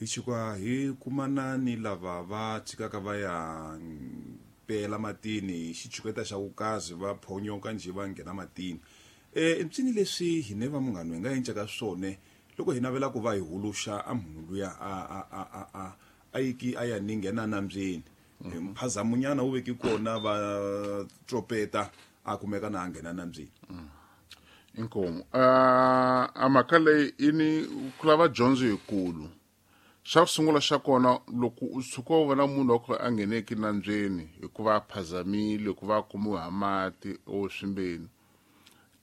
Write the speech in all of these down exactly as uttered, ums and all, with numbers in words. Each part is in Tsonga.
Hi chika hi kumana ni lava va tshikaka va ya pela matini hi xitshuketa xa vukazi va phonyoka njhe va nghena matini. Eh mpsini leswi hine va munghana hi nga encaka swona loko hi navela ku va hi huluxa a munhu luya a a a a a a yiki a ya ni nghena nambyeni. Mphazamunyana wu veki kona va tropeta a kumeka na nghena nambyeni. Inkomu a a mhaka leyi i ni ku lava dyondzo yikulu. Xa ku sungula xa kona loko u tshuka u vona munhu wa ku a ngheneki nambyeni hikuva a phazamile hikuva a kumiwe ha mati o swimbeni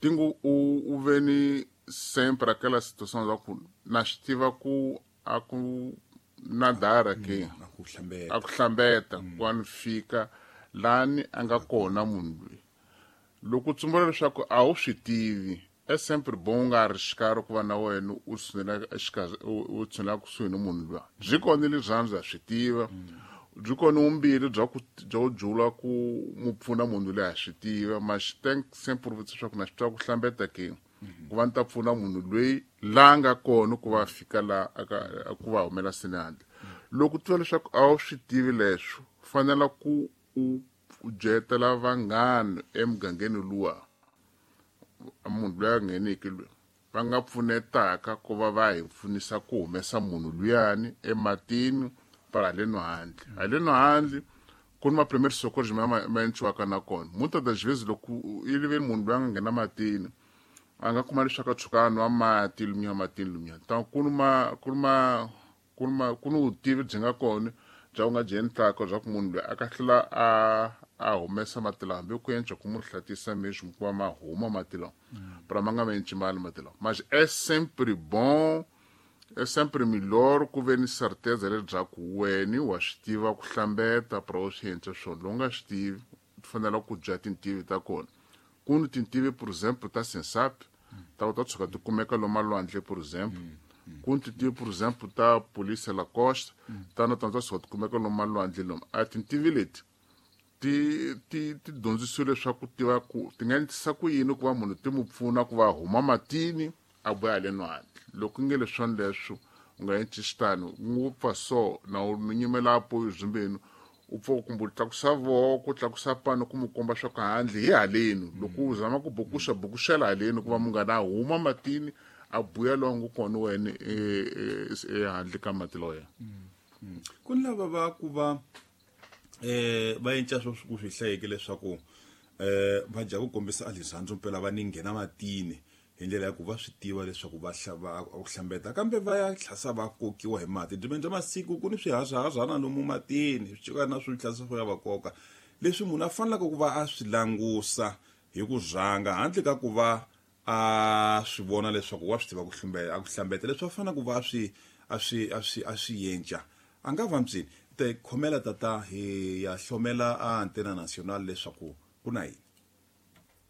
tingu u u ve ni sempre aquela situação za ku na swi tiva ku a ku nadara ke a ku hlambeta a ku hlambeta ku a ni fika lani a nga kona munhu loyi. Loko u tsumbula leswaku a wu swi tivi é sempre bom nga arriscar ku va na wena u tshinela exikarhi u tshinela kusuhi ni munhu luya. Byi kona rirhandzu ha swi tiva, byi kona vumbirhi bya ku bya ku jula ku mu pfuna munhu loyi ha swi tiva, mas tem sempre leswaku na swi tiva ku hlambeta ke ku va ni ta pfuna munhu loyi la nga kona ku va fika la aka ku va humela sini handle. Loko u tiva leswaku a wu swi tivi leswo fanela ku u u byetela vanghana emugangeni luwa munhu loyi a ngheneki loyi va nga pfunetaka ku va va hi pfunisa ku humesa munhu luyani ematini para haleno handle. Haleno handle ku ni ma-primary socorros ma ma endliwaka na kona. Muitas das vezes loko i ri ve munhu loyi a nga nghena matini a nga kuma leswaku a tshuka a nwa mati lumiya matini lumiya. Ta ku ni ma ku ni ma ku ni ma ku ni vutivi byi nga kona bya ku nga byi endlaka bya ku munhu loyi a ka tlhela a a humesa mati lawa hambi ku enca ku mu hlatisa mesmo ku va ma huma mati lawa para ma nga ma enci mali mati lawa. Mas é sempre bom, é sempre melhor ku ve ni certeza leswaku wena wa swi tiva ku hlambeta para u swi endla swona. Loko u nga swi tivi u fanele ku dya tintivi ta kona. Ku ni tintivi por exemplo ta Sensap ta ku ta tshuka ti kumeka lomu malwandle por exemplo. Ku ni tintivi por exemplo ta Polícia La Costa ta na tona ta tshuka ti kumeka lomu malwandle lomu. A tintivi leti ti ti ti dyondzisiwe leswaku tiva ku ti nga endlisa ku yini ku va munhu ti mu pfuna ku va huma matini a vuya haleno handle. Loko nge leswona leswo u nga endli xitano n'wi pfa so na u nyimela apoyo zimbeni u pfa kumbe u tlakusa voko u tlakusa pano ku mu komba swa ku handle hi haleni. Loko u zama ku bukuxa bukuxela haleni ku va munghana a huma matini a buya lowu nga kona wena ehandle ka mati loya. Ku ni lava va ku va eh va enca swo ku swi hlayeke leswaku eh va dya ku kombisa rirhandzu mpela va ni nghena matini hi ndlela ya ku va swi tiva leswaku va hlava ku hlambeta kambe va ya tlhasa va kokiwa hi mati. Byi bya masiku ku ni swihahahana lomu matini swi cika na swi tlhasa swo ya va koka leswi munhu a faneleke ku va a swi langusa hi ku rhanga handle ka ku va a swi vona leswaku wa swi tiva ku hlambeta a ku hlambeta leswi a faneleke ku va a swi a swi a swi a swi yenca a nga va mpsini te khomela tata hi ya hlomela a Antena Nacional leswaku ku na yini.